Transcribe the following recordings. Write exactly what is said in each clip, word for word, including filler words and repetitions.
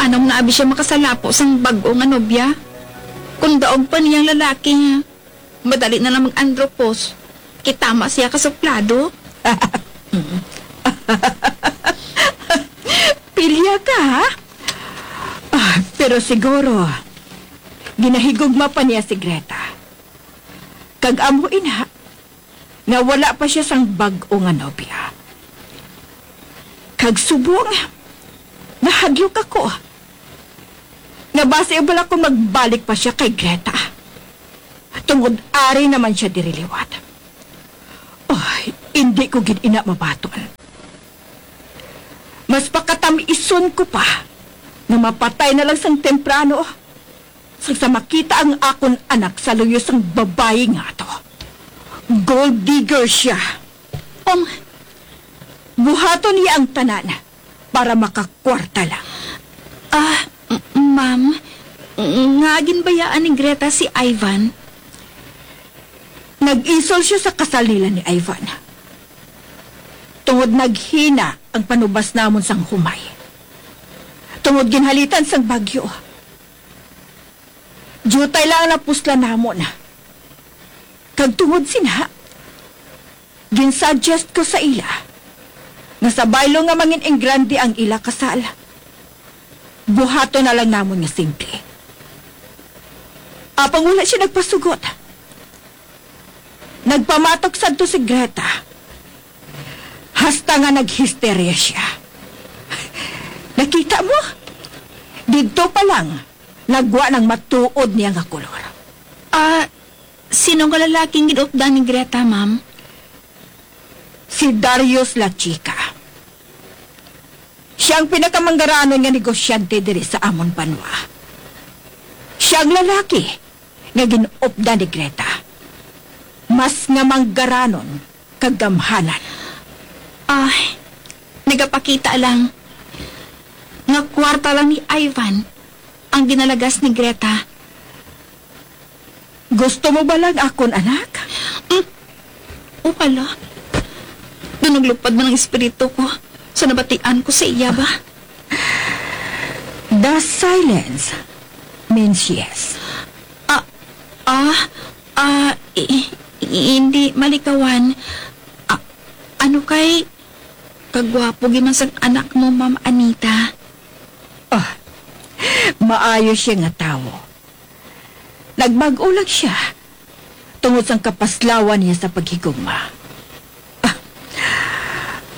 Nang naabi siya makasalapo sang bag-o nga nobya, kung daog pa niya ang lalaki, madali na lang mag-andropos. Kay tama siya ka suplado. Pilya ka, ha? Ah, pero siguro, ginahigugma pa niya si Greta. Kag amo ina, nga wala pa siya sang bag-o nga nobya. Kag subong, nahadlok ako nga basi bala kung magbalik pa siya kay Greta, tungod ari naman siya diri liwat. Ay, indi ko gid ina mabaton. Mas pakatam-ison ko pa nga mapatay na lang sang temprano sang sa makita ang akon anak sa luyo sang babayi nga ato. Gold digger siya. Um, buhaton niya ang tanan para makakwarta lang. Ah, m-, ma'am, nga ginbayaan ni Greta si Ivan? Nag-isol siya sa kasal nila ni Ivan. Tungod naghina ang panubas namon sang humay. Tungod ginhalitan sang bagyo. Diutay lang ang napuslan namon. Kag tungod sina, ginsuggest ko sa ila nga sa baylo nga mangin-ingrande ang ila kasal, buhaton na lang namon nga simple. Apang wala siya nagpasugot. Nagpamatok sadto si Greta. Hasta nga naghisterya siya. Nakita mo? Didto pa lang, nagwa nang matuod niya nga kolor. Ah, sino nga lalaking gin-updan ni Greta, ma'am? Si Darius La Chica. Siya ang pinakamanggaranon nga negosyante diri sa amon banwa. Siya ang lalaki nga gin-updan ni Greta. Mas nga manggaranon kag gamhanan. Ay, nagapakita lang nga kwarta lang ni Ivan ang ginalagas ni Greta. Gusto mo bala ang akon anak? Mm. O pala. Daw naglupad man ang espiritu ko sa nabatian ko sa iya ba? The silence means yes. Ah, ah, ah, i-, i-, hindi malikawan. Ah, ano kay kagwapo gyud man sang anak mo, Ma'am Anita? Ah, maayo siya nga tawo. Nagbag-o lang siya tungod sang kapaslawan niya sa paghigugma. Ah,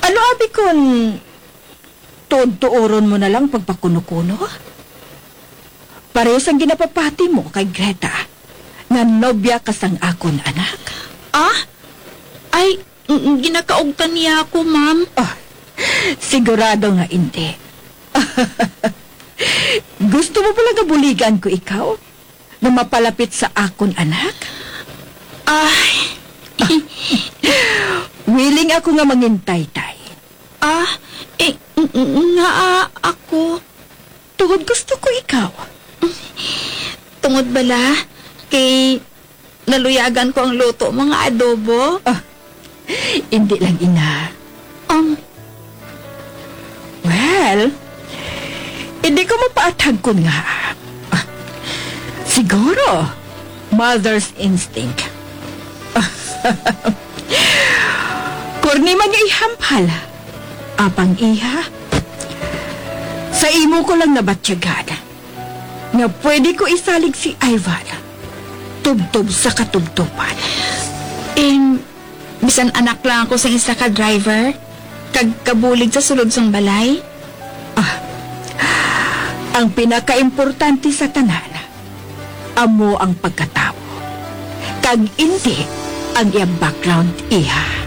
ano abi kon tuod-tuoron mo na lang pagpakuno-kuno? Pareho sang ginapapati mo kay Greta nga nobya ka sang akon anak. Ah? Ay, Ng-, ginakaugtan niya ako, ma'am. Ah, sigurado nga indi. Gusto mo pala nga buligan ko ikaw nga mapalapit sa akon anak? Ay. Willing ako nga mangintay, tay. Ah, eh, ng-, ng-, nga, ah, ako. Tungod gusto ko ikaw. Tungod bala kay naluyagan ko ang luto mo nga adobo? Ah, hindi lang, ina. Um, Well, hindi ko mapaathag kon nga. Ah, siguro, mother's instinct. Korni man nga ihampal. Apang iha, sa imo ko lang nabatyagan nga pwede ko isalig si Ivan tubtob sa katubtoban. Em, bisan anak lang ako sang isa ka driver, kag kabulig sa sulod sang balay. Ah, ang pinakaimportante sa tanan, amo ang pagkatawo. Kag indi ang iya background, iha.